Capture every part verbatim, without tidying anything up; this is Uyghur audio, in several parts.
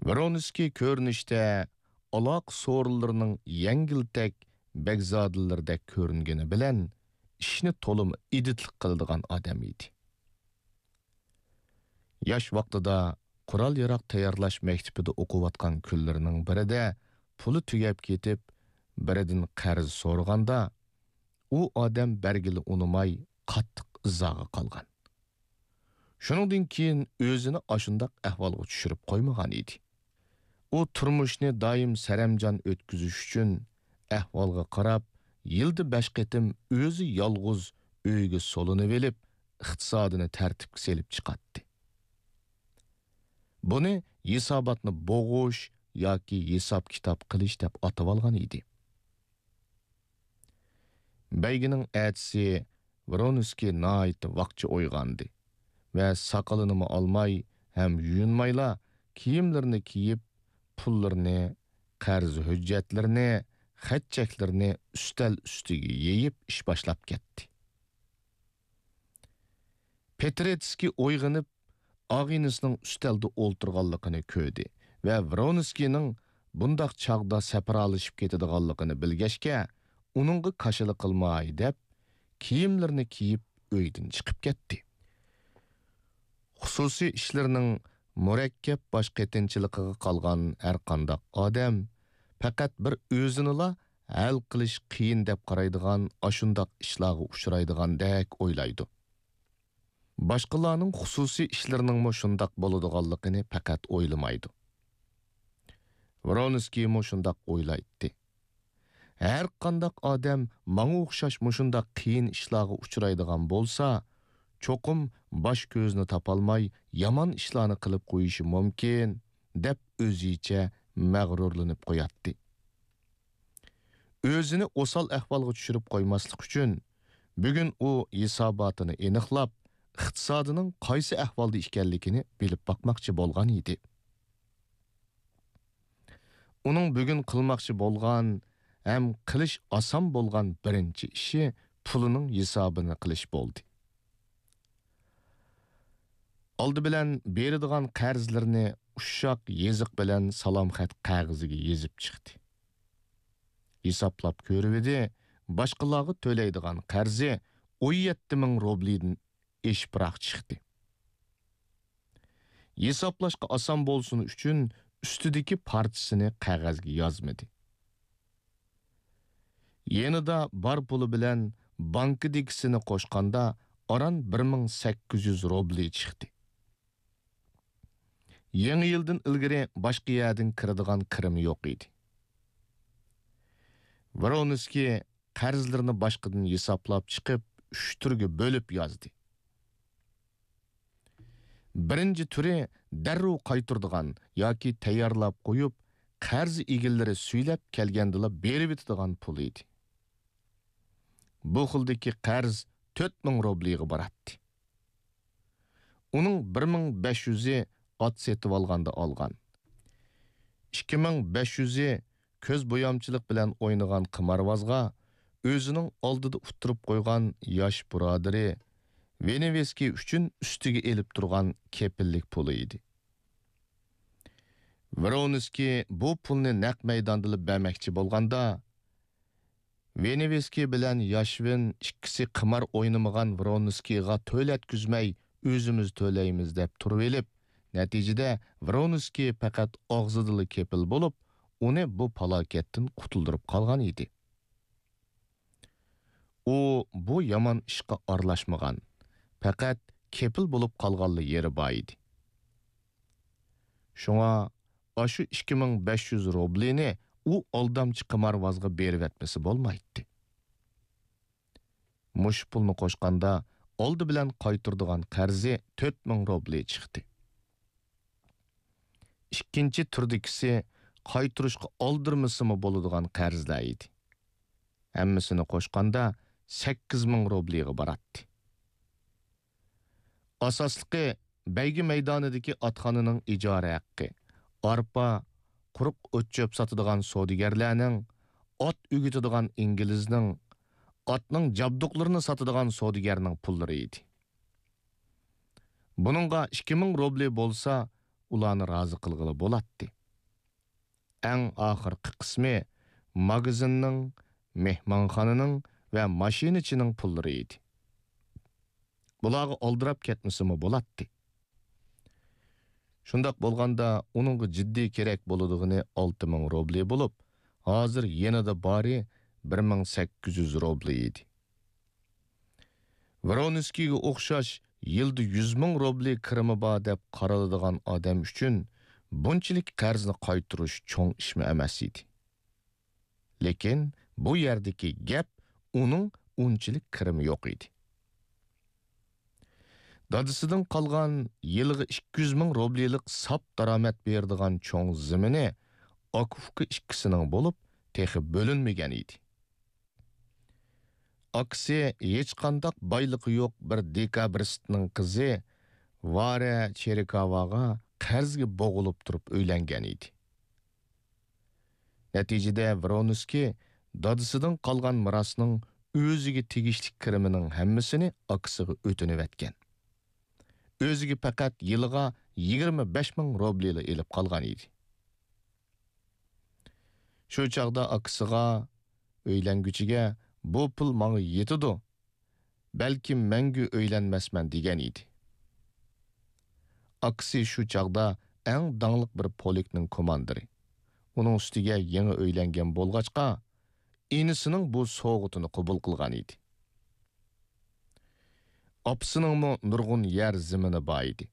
ۋرونسكىي كۆرۈنۈشتە ئالاقە سورۇنلىرىنىڭ يەڭگىلتەك بەگزادىلىرىدەك كۆرۈنگىنى بىلەن ئىشنى تولىمۇ ئىدىتلىق قىلىدىغان ئادەم ئىدى. ياش ۋاقتىدا قورال-ياراغ تەييارلاش مەكتىپىدە ئوقۇۋاتقان كۈنلىرىنىڭ بىرىدە پۇلى تۈگەپ كېتىپ، بىرىدىن قەرز سورىغاندا، ئۇ ئادەم بەرگىلى ئۇنىماي، قاتتىق ئىزاغا قالغان. شۇنىڭدىن كېيىن ئۆزىنى ئاشۇنداق ئەھۋالغا چۈشۈرۈپ قويمىغان ئىدى. ئۇ تۇرمۇشنى دائىم سەرەمجان ئۆتكۈزۈش ئۈچۈن، ئەھۋالغا قاراپ، يىلدا بەش قېتىم ئۆزى يالغۇز ئۆيگە سولىنىۋېلىپ، ئىقتىسادىنى تەرتىپكە سېلىپ چىقاتتى. بۇنى ھېساباتنى بوغۇش ياكى ھېساب-كىتاب قىلىش دەپ ئاتىۋالغان ئىدى. بەيگىنىڭ ئەتىسى ۋرونسكىي ناھايىتى ۋاقچە ئويغاندى ۋە ساقىلىنىمۇ ئالماي ھەم يۇيۇنمايلا، كىيىملىرىنى كىيىپ، پۇللىرىنى، قەرز ھۆججەتلىرىنى، خەت-چەكلىرىنى ئۈستەل ئۈستىگە يېيىپ، ئىش باشلاپ كەتتى. پېترېتسكىي ئويغىنىپ، ئاغىنىسىنىڭ ئۈستەلدە ئولتۇرغانلىقىنى كۆردى ۋە ۋرونسكىينىڭ بۇنداق چاغدا سەپرالىشىپ كېتىدىغانلىقىنى بىلگەچكە، ئۇنىڭغا كاشىلا قىلماي دەپ، كىيىملىرىنى كىيىپ، ئۆيدىن چىقىپ كەتتى. خۇسۇسىي ئىشلىرىنىڭ مۇرەككەپ باش قېتىنچىلىقىغا قالغان ھەرقانداق ئادەم پەقەت بىر ئۆزىنىلا ھەل قىلىش قىيىن دەپ قارايدىغان ئاشۇنداق ئىشلارغا ئۇچرايدىغاندەك ئويلايدۇ. باشقىلارنىڭ خۇسۇسىي ئىشلىرىنىڭمۇ شۇنداق بولىدىغانلىقىنى پەقەت ئويلىمايدۇ. ۋرونسكىيمۇ شۇنداق ئويلايتتى. ھەر قانداق ئادەم ماڭا ئوخشاش مۇشۇنداق قىيىن ئىشلارغا ئۇچرايدىغان بولسا، چوقۇم باش-كۆزىنى تاپالماي، يامان ئىشلارنى قىلىپ قويۇشى مۇمكىن، دەپ ئۆزىچە مەغرۇرلىنىپ قوياتتى. ئۆزىنى ئوسال ئەھۋالغا چۈشۈرۈپ قويماسلىق ئۈچۈن، بۈگۈن ئۇ ھېساباتىنى ئېنىقلاپ، ئىقتىسادىنىڭ قايسى ئەھۋالدا ئىكەنلىكىنى بىلىپ باقماقچى بولغان ئىدى. ئۇنىڭ بۈگۈن قىلماقچى بولغان ھەم قىلىش ئاسان بولغان بىرىنچى ئىشى پۇلىنىڭ ھېسابىنى قىلىش بولدى. ئالدى بىلەن بېرىدىغان قەرزلىرىنى ئۇششاق يېزىق بىلەن سالام خەت قەغىزىگە يېزىپ چىقتى. ھېسابلاپ كۆرۈۋىدى، باشقىلارغا تۆلەيدىغان قەرزى ئون يەتتە مىڭ روبلىدىن ئېشىپراق چىقتى. ھېسابلاشقا ئاسان بولسۇن ئۈچۈن ئۈستىدىكى پارچىسىنى قەغەزگە يازمىدى. يېنىدا بار پۇلى بىلەن بانكىدىكىسىنى قوشقاندا ئاران بىر مىڭ سەككىز يۈز روبلى چىقتى. يېڭى يىلدىن ئىلگىرى باشقا يەردىن كىرىدىغان كىرىمى يوق ئىدى. ۋرونسكىي قەرزلىرىنى باشقىدىن ھېسابلاپ چىقىپ، ئۈچ تۈرگە بۆلۈپ يازدى. بىرىنچى تۈرى دەررۇ قايتۇرىدىغان ياكى تەييارلاپ قويۇپ، قەرز ئىگىلىرى سۈيلەپ كەلگەندىلا بېرىۋېتىدىغان پۇل ئىدى. بۇ خىلدىكى قەرز تۆت مىڭ روبلىغا باراتتى. ئۇنىڭ بىر مىڭ بەش يۈزى ئات سېتىۋالغاندا ئالغان. ئىككى مىڭ بەش يۈزى كۆز بويامچىلىق بىلەن ئوينىغان قىمارۋازغا ئۆزىنىڭ ئالدىدا ئۇتتۇرۇپ قويغان ياش بۇرادىرى ۋېنېۋېسكىي ئۈچۈن ئۈستىگە ئېلىپ تۇرغان كېپىللىك پۇلى ئىدى. ۋرونسكىي بۇ پۇلنى نەق مەيداندىلا بەرمەكچى بولغاندا، ۋېنېۋېسكىي بىلەن ياشۋىن ئىككىسى قىمار ئوينىمىغان ۋرونسكىيغا تۆلەتكۈزمەي، ئۆزىمىز تۆلەيمىز دەپ تۇرۇۋېلىپ، نەتىجىدە ۋرونسكىي پەقەت ئاغزىدىلا كېپىل بولۇپ، ئۇنى بۇ پالاكەتتىن قۇتۇلدۇرۇپ قالغان ئىدى. ئۇ بۇ يامان ئىشقا ئارىلاشمىغان، پەقەت كېپىل بولۇپ قالغانلا يېرى بار ئىدى. شۇڭا ئاشۇ ئىككى مىڭ بەش يۈز روبلىنى ئۇ ئالدامچى قىمارۋازغا بېرىۋەتمىسە بولمايتتى. مۇشۇ پۇلنى قوشقاندا، ئالدى بىلەن قايتۇرىدىغان قەرزى تۆت مىڭ روبلى چىقتى. ئىككىنچى تۈردىكىسى قايتۇرۇشقا ئالدىرىمىسىمۇ بولىدىغان قەرزلەر ئىدى. ھەممىسىنى قوشقاندا، سەككىز مىڭ روبلىغا باراتتى. ئاساسلىقى بەيگە مەيدانىدىكى ئاتخانىنىڭ ئىجارە ھەققى، ئارپا، قۇرۇق ئوت-چۆپ ساتىدىغان سودىگەرلەرنىڭ، ئات ئۆگىتىدىغان ئىنگلىزنىڭ، ئاتنىڭ جابدۇقلىرىنى ساتىدىغان سودىگەرنىڭ پۇللىرى ئىدى. بۇنىڭغا ئىككى مىڭ روبلى بولسا، ئۇلارنى رازى قىلغىلى بولاتتى. ئەڭ ئاخىرقى قىسمى ماگىزىننىڭ، مېھمانخانىنىڭ ۋە ماشىنىچىنىڭ پۇللىرى ئىدى. بۇلارغا ئالدىراپ كەتمىسىمۇ بولاتتى. شۇنداق بولغاندا، ئۇنىڭغا جىددىي كېرەك بولىدىغىنى ئالتە مىڭ روبلى بولۇپ، ھازىر يېنىدا بارى بىر مىڭ سەككىز يۈز روبلى ئىدى. ۋرونسكىيگە ئوخشاش يىلدا يۈز مىڭ روبلى كىرىمى بار دەپ قارىلىدىغان ئادەم ئۈچۈن بۇنچىلىك قەرزنى قايتۇرۇش چوڭ ئىشمۇ ئەمەس ئىدى. لېكىن بۇ يەردىكى گەپ ئۇنىڭ ئۇنچىلىك كىرىمى يوق ئىدى. دادىسىدىن قالغان يىلىغا ئىككى يۈز مىڭ روبلىلىق ساپ دارامەت بېرىدىغان چوڭ زېمىنى ئاكا-ئۇكا ئىككىسىنىڭ بولۇپ، تېخى بۆلۈنمىگەن ئىدى. ئاكىسى ھېچقانداق بايلىقى يوق بىر دېكابرىستنىڭ قىزى ۋارە چېرىكاۋاغا قەرزگە بوغۇلۇپ تۇرۇپ ئۆيلەنگەن ئىدى. نەتىجىدە ۋرونسكىي دادىسىدىن قالغان مىراسنىڭ ئۆزىگە تېگىشلىك كىرىمىنىڭ ھەممىسىنى ئاكىسىغا ئۆتۈنۈۋەتكەن. ئۆزىگە پەقەت يىلىغا يىگىرمە بەش مىڭ روبلىلا ئېلىپ قالغان ئىدى. شۇ چاغدا ئاكىسىغا، ئۆيلەنگۈچىگە، «بۇ پۇل ماڭا يېتىدۇ، بەلكىم مەڭگۈ ئۆيلەنمەسمەن» دېگەن ئىدى. ئاكىسى شۇ چاغدا ئەڭ داڭلىق بىر پولكنىڭ كوماندىرى. ئۇنىڭ ئۈستىگە يېڭى ئۆيلەنگەن بولغاچقا، ئىنىسىنىڭ بۇ سوۋغىتىنى قوبۇل قىلغان ئىدى. ئاپىسىنىڭمۇ نۇرغۇن يەر زېمىنى بار ئىدى.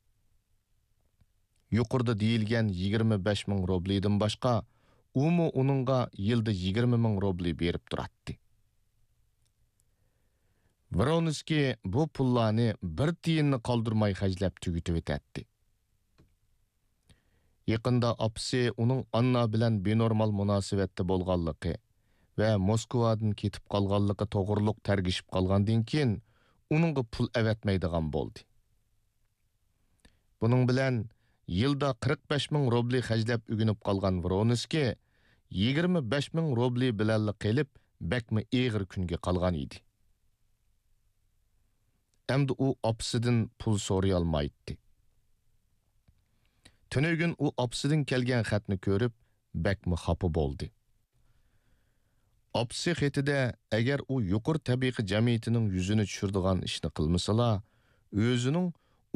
يۇقىرىدا دېيىلگەن يىگىرمە بەش مىڭ روبلىدىن باشقا، ئۇمۇ ئۇنىڭغا يىلدا يىگىرمە مىڭ روبلى بېرىپ تۇراتتى. ۋرونسكىي بۇ پۇللارنى بىر تىيىننى قالدۇرماي خەجلەپ تۈگىتىۋېتەتتى. يېقىندا ئاپىسى ئۇنىڭ ئاننا بىلەن بىنورمال مۇناسىۋەتتە بولغانلىقى ۋە موسكۋادىن كېتىپ قالغانلىقى توغرۇلۇق تەرگىشىپ قالغاندىن كېيىن، ئۇنىڭغا پۇل ئەۋەتمەيدىغان بولدى. بۇنىڭ بىلەن يىلدا قىرىق بەش مىڭ روبلى خەجلەپ ئۆگىنىپ قالغان ۋرونسكىي يىگىرمە بەش مىڭ روبلى بىلەنلا قېلىپ، بەكمۇ ئېغىر كۈنگە قالغان ئىدى. ئەمدى ئۇ ئاپىسىدىن پۇل سورىيالمايتتى. تۈنۈگۈن ئۇ ئاپىسىدىن كەلگەن خەتنى كۆرۈپ، بەكمۇ خاپا بولدى. ئاپىسى خېتىدە، ئەگەر ئۇ يۇقىرى تەبىقە جەمئىيىتىنىڭ يۈزىنى چۈشۈرىدىغان ئىشنى قىلمىسىلا، ئۆزىنىڭ